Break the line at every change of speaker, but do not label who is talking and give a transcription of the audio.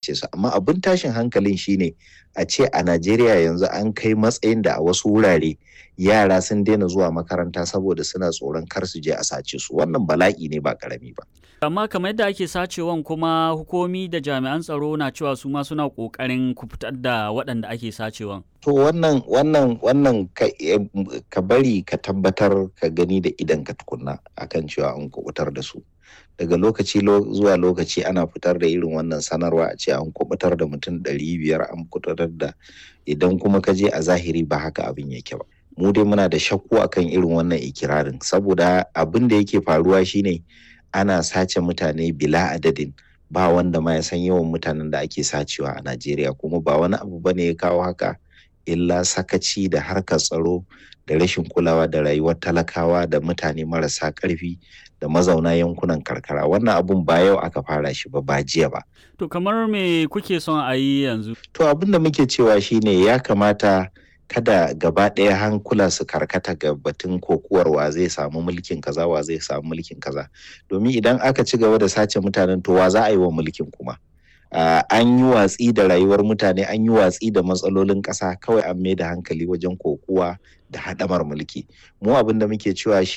Sace su. Amma abin tashin hankalin shine a ce a Najeriya yanzu an kai matsayin da a wasu wurare yara sun daina zuwa makaranta saboda suna tsoron kar su je a sace su. Wannan bala'i ne ba karami ba.
Amma kamar yadda ake sacewan, kuma hukumi da jami'an tsaro na cewa su ma suna ƙoƙarin kubutar da waɗanda ake sacewan.
To, wannan ka bari ka tabbatar ka gani da idan ka tukunna akan cewa an kubutar da su. Daga lokaci zuwa lokaci ana fitar da irin wannan sanarwa, a ce an kubutar da mutum 500, an kubutar da. Idan kuma ka je a zahiri, ba haka abin yake ba. Mu dai muna da shakku akan irin wannan ikirarin, saboda abin da yake faruwa shine ana sace mutane bila adadin, ba wanda ma ya san yawan mutanen da ake sacewa a Najeriya. Kuma ba wani abu bane ya kawo haka illa sakaci da harkar tsaro da rashin kulawa da rayuwar talakawa da mutane marasa ƙarfi da mazauna yankunan karkara. Wannan abun ba yau aka fara shi ba, ba jiya ba.
To, kamar me kuke son a yi yanzu?
To, abin da muke cewa shine ya kamata kada gaba ɗaya hankula su karkata ga batun kokuwar wa zai samu mulkin kaza, wa zai samu mulkin kaza, domin idan aka ci gaba da sace mutanen, to wa za a yi wa mulkin kuma? An yi watsi da rayuwar mutane, an yi watsi da matsalolin ƙasa, kawai an mai da hankali wajen kokuwa da haɗamar mulki. Mu abin da muke cewa shi